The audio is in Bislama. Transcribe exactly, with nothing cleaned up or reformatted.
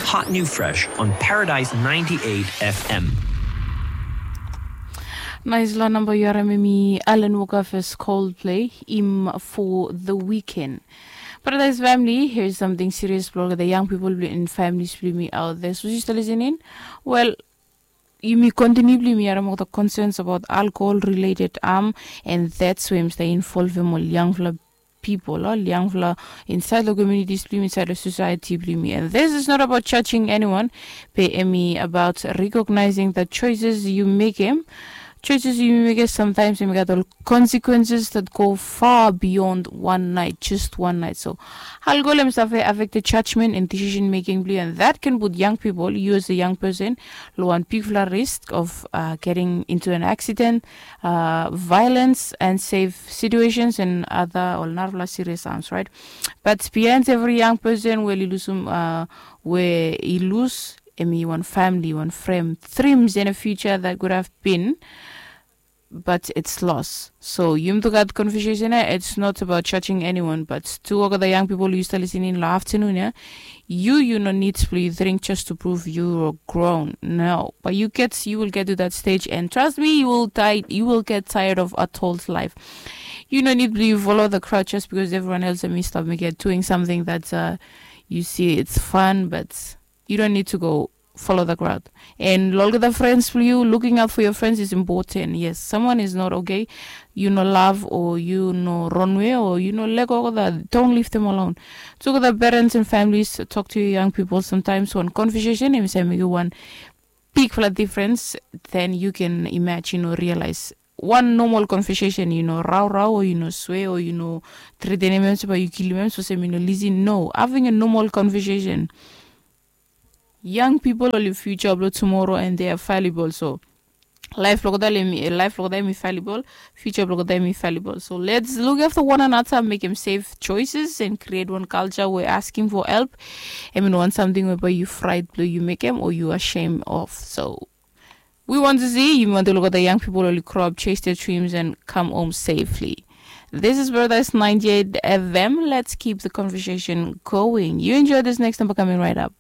Hot new fresh on Paradise ninety-eight F M. Nice la number you are me Alan Walker first Coldplay im for the weekend. Paradise family, here's something serious blog the young people in families blue me out there. So just listening. Well, yumi continue blue me around the concerns about alcohol related harm, and that's why I'm stay involve them all young people, all young inside the communities blue me, inside the society blue me. And this is not about judging anyone, but emi about recognizing the choices you make him. Choices you make sometimes you got the consequences that go far beyond one night, just one night. So alcohol himself affect the judgment and decision making blue, and that can put young people, you as a young person, lo one big risk of uh, getting into an accident, uh, violence, and safe situations and other or narvla serious harms, right? But behind every young person, well, you lose um, uh, where you lose emi one family, one frame, dreams in a future that could have been, but it's lost. So yum to got conversation. It's not about judging anyone, but to all the young people you still listening in the afternoon, yeah, you you no need to drink just to prove you are grown. No, but you get you will get to that stage, and trust me, you will die. You will get tired of adult life. You no need to follow the crowd just because everyone else and me stop me get doing something that uh, you see it's fun, but you don't need to go follow the crowd. And lo olgeta friends for you, looking out for your friends is important. Yes, someone is not okay, you know, love or you know, runway or you know, let go of that. Don't leave them alone. So the parents and families talk to your young people sometimes. One conversation, and say make you one big flat difference. Then you can imagine or realize one normal conversation, you know, rau rau or you know, swear or you know, treat any members by you kill members for same you know, listen. No, having a normal conversation. Young people only future blo tomorrow and they are fallible. So life blok dem mi life blok dem mi fallible, future blok dem mi fallible. So let's look after one another, make them safe choices and create one culture where asking for help. I mean, one something whereby you fright blue you make them or you ashamed of. So we want to see you want to look at the young people only grow up, chase their dreams, and come home safely. This is Paradise ninety-eight F M. Let's keep the conversation going. You enjoy this next number coming right up.